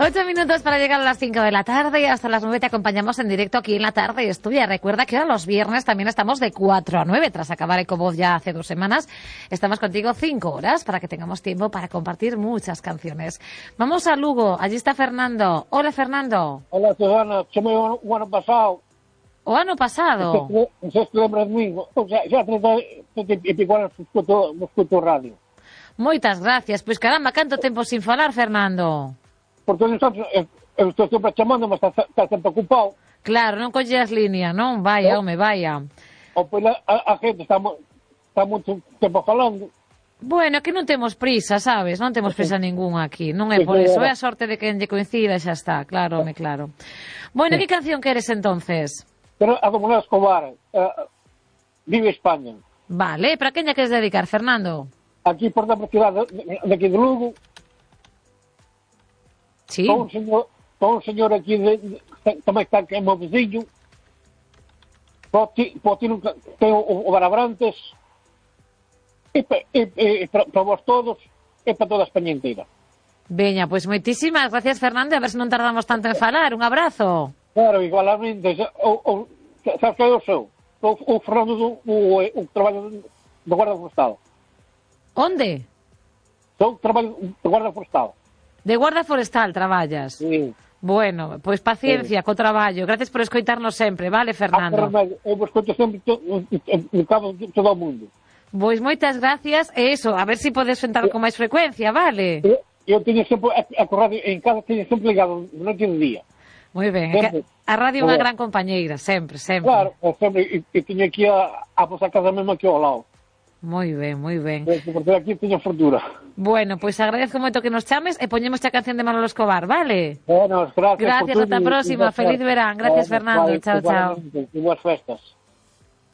8 minutos para llegar a las 5 de la tarde y hasta las 9 te acompañamos en directo aquí en La Tarde es Tuya. Recuerda que ahora los viernes también estamos de 4 a 9, tras acabar Ecovoz ya hace 2 semanas. Estamos contigo 5 horas para que tengamos tiempo para compartir muchas canciones. Vamos a Lugo, allí está Fernando. Hola, Fernando. Hola, Susana, chamei o ano pasado. O ano pasado? Non sei se te lembras de mí. O sea, xa 30 e pico anos escuto radio. Moitas gracias. Pois caramba, canto tempo sin falar, Fernando. Porque eu estou sempre chamando, mas está sempre ocupado. Claro, non colleas línea, non? Vaya, home, vaya. Ou pois a gente está moito tempo falando. Bueno, que non temos prisa, sabes? Non temos prisa ningunha aquí. Non é por eso, é a sorte de que lle coincida e xa está. Claro, home, claro. Bueno, que canción queres entonces? Pero a Comunidade Escobar, Vive España. Vale, para quen lle queres dedicar, Fernando? Aquí por da cidade de aquí de Lugo. Sí. Con un señor aquí tamén está que é meu veciño. Ten o Barabrantes. E para vos todos, e para toda a España inteira. Veña, pois moitísimas gracias, Fernando, a ver se non tardamos tanto en falar. Un abrazo. Claro, igualmente. Sabes que eu sou? O Fernando o traballo do Guarda Forestal. Onde? Sou traballo do Guarda Forestal. De Guarda Forestal traballas? Sí. Bueno, pois paciencia co traballo. Gracias por escoitarnos sempre, vale, Fernando? Eu vos escoito sempre no cabo de todo o mundo. Pois moitas gracias, e eso, a ver se podes sentar con máis frecuencia, vale? Eu teño sempre a radio en casa, teño sempre ligado de noite e de día. Moi ben, a radio é unha gran compañeira, sempre, sempre. Claro, sempre, e teño aquí a vosa casa mesmo aquí ao lado. Moi ben, moi ben. Porque aquí teño fortuna. Bueno, pois agradezco moito que nos chames e poñemos a canción de Manolo Escobar, vale? Bueno, gracias. Gracias, ata a próxima. Feliz verán. Gracias, Fernando. Chao, chao. E boas festas.